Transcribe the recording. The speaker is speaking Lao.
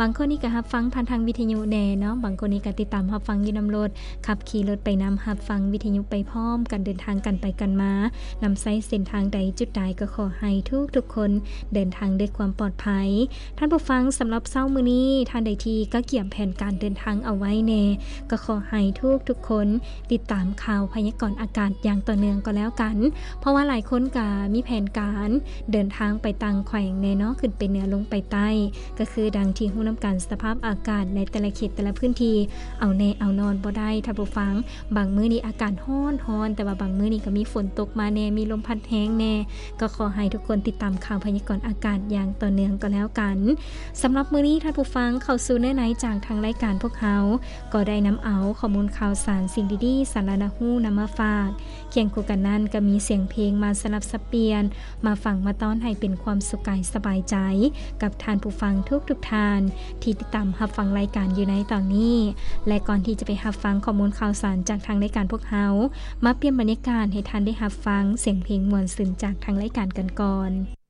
ບາງຄົນນີ້ກໍຮັບຟັງຜ່ານທາງວິທະຍຸແດ່ເນາະ, ບາງຄົນນີ້ກໍຕິດຕາມຮັບຟັງຢູ່ນຳລົດ, ຂັບຂີ່ລົດໄປນຳ, ຮັບຟັງວິທະຍຸໄປພ້ອມກັນ, ເດີນທາງກັນໄປກັນມາ, ນຳໃຊ້ເສັ້ນທາງໃດຈຸດໃດ ກໍຂໍໃຫ້ທຸກໆຄົນເດີນທາງດ້ວຍຄວາມປອດໄພ. ທ່ານຜູ້ຟັງ, ສຳລັບເຊົ້າມື້ນີ້, ທ່ານໃດທີ່ກະກຽມແຜນການເດີນທາງເອົາໄວ້ແດ່, ກໍຂໍໃຫ້ທຸກໆຄົນ ຕິດຕາມຂ່າວພະຍາກອນອາກາດຢ່າງຕໍ່ເນື່ອງກໍແລ້ວກັນ, ເພາະວ່າຫຼາຍຄົນກະມີແຜນການເດີນທາງໄປຕ່າງແຂວງແດ່ເນາະ, ຂຶ້ນໄປເໜືອລົງໄປໃຕ້, ກໍຄືດັ່ງທີ່ຮູ້ນຳກັນ, ສະພາບອາກາດໃນແຕ່ລະເຂດແຕ່ລະພື້ນທີ່ ເອົາແນ່ເອົານອນບໍ່ໄດ້ທ່ານຜູ້ຟັງ. ບາງມື້ນີ້ອາກາດຮ້ອນໆ, ແຕ່ວ່າບາງມື້ນີ້ກໍມີຝົນຕົກມາແດ່, ມີລົມພັດແຮງແດ່, ກໍຂໍໃຫ້ທຸກຄົນຕິດຕາມຂ່າວພະຍາກອນອາກາດຢ່າງຕໍ່ເນື່ອງກໍແລ້ວກັນ. ສຳລັບມື້ນີ້ທ່ານຜູ້ຟັງ, ເຂົ້າສູ່ເນື້ອໃນຈາກທາງລາຍການພວກເຮົາ ກໍໄດ້ນຳເອົາຂໍ້ມູນຂ່າວສານ, ສິ່ງດີໆ, ສາລະໜ້າຮູ້ນຳມາຝາກ. ຄຽງຄູ່ກັນນັ້ນກໍມີສຽງເພງມາສະຫຼັບສັບປ່ຽນ, ມາຟັງມາຕ້ອນໃຫ້ເປັນຄວາມສຸກກາຍສະບາຍໃຈ ກັບທ່ານຜູ້ຟັງທຸກໆທ່ານ ທີ່ຕິດຕາມຮັບຟັງລາຍການຢູ່ໃນຕອນນີ້. ແລະ ກ່ອນທີ່ຈະໄປຮັບຟັງຂໍ້ມູນຂ່າວສານຈາກທາງລາຍການພວກເຮົາ, ມາປ່ຽນບັນຍາກາດໃຫ້ທ່ານໄດ້ຮັບຟັງສຽງເພງມ່ວນຊື່ນຈາກທາງລາຍການກັນກ່ອນ.